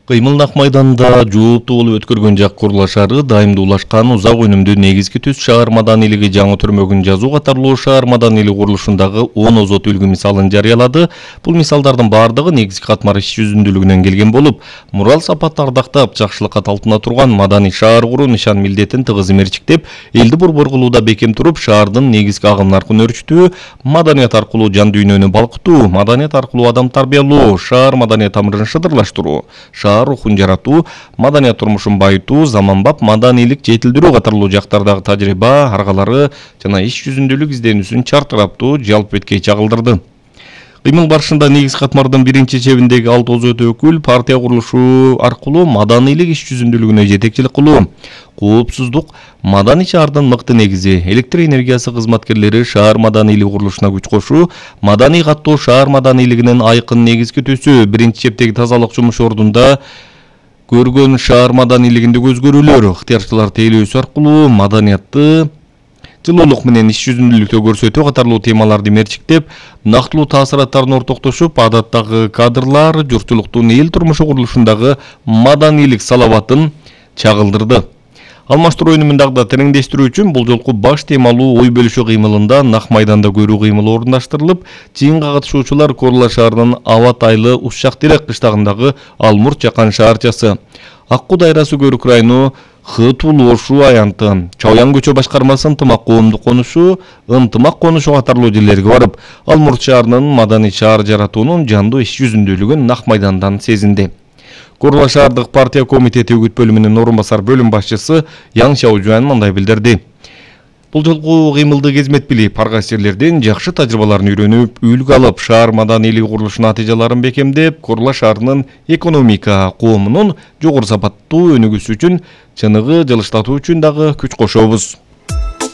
Кыймылдак майданда жооптуу болуп өткөргөн жак курулаш шаары дайымдуулашкан узак өнүмдүү негизги түз шаар маданилиги жаңы түрмөгүн жазуу катарлуу шаар маданилиги курулушундагы 10 озот үлгү мисалын жарыялады. Бул мисалдардын бардыгы негизги катмар иш жүзүндүүлүгүнөн келген болуп, мурал сапатты ардактап, жакшылыкка талпына турган маданий шаар куруу нишан милдетин тыгыз эмерчиктеп, элди борбор кылууда бекем туруп, шаардын негизги агым наркын өрчүтүү, маданият аркылуу жан дүйнөнү балкытуу, маданият аркылуу адам тарбиялоо, шаар маданият тамырын шыдырлаштыруу, рухун жаратуу, маданият турмушун байытуу, заманбап маданийлик жетилдирүү катарлуу жактардагы тажрыйба, аргалары жана иш жүзүндүүлүк изденүүсүн чартыраптуу жалпы бетке чагылдырды. Кыймыл барышында негиз катмардын биринчи чебиндеги 6 озот өкүл партия курулушу аркылуу маданийлик иш жүзүндүүлүгүнө жетекчилик кылуу, коопсуздук маданий шаардын мыкты негизи, электр энергиясы кызматкерлери шаар маданийлиги курулушуна күч кошуу, маданий каттоо шаар маданийлигинин айкын негизги төсү, биринчи чептеги тазалык жумуш ордунда көргөн шаар маданийлигиндеги өзгөрүүлөр, ыктыярчылар тейлөөсү аркылуу маданиятты жылуулук менен иш жүзүндүүлүктө көрсөтүү катарлуу темаларды мерчиктеп, нактылуу таасираттарын ортоктошуп, адаттагы кадрлар журтчулуктун эл турмушу курулушундагы маданийлик салабатын чагылдырды. Алмаштыруу өнүмүн дагы да тереңдештирүү үчүн бул жолку баш темалуу ой бөлүшүү кыймылында нак майданда көрүү кыймылы орундаштырылып, жыйынга катышуучулар Курулаш шаарынын Абат-Айлы Ушчак-Терек кыштагындагы Алмурт жакан шаарчасы, Аккуу дайрасы Көрүк району Хытулошу аянты, Чоян көчө башкармасы ынтымак коомдук конушу, ынтымак конушу катарлуу жерлерге барып, Алмурт шаарынын маданий шаар жаратуунун жандуу иш жүзүндүүлүгүн нак майдандан сезинди. Курулаш шаардык партия комитети үгүт бөлүмүнүн орун басар бөлүм башчысы Яң Шаожуан мындай билдирди. Бул жолку кыймылды кезмет билип, ар кайсы жерлерден жакшы тажрыйбаларын үйрөнүп, үлгү алып, шаар маданийлиги курулушунун натыйжаларын бекемдеп, Курулаш шаарынын экономика коомунун жогору сапаттуу өнүгүүсү үчүн чыныгы жылыштатуу үчүн дагы күч кошобуз.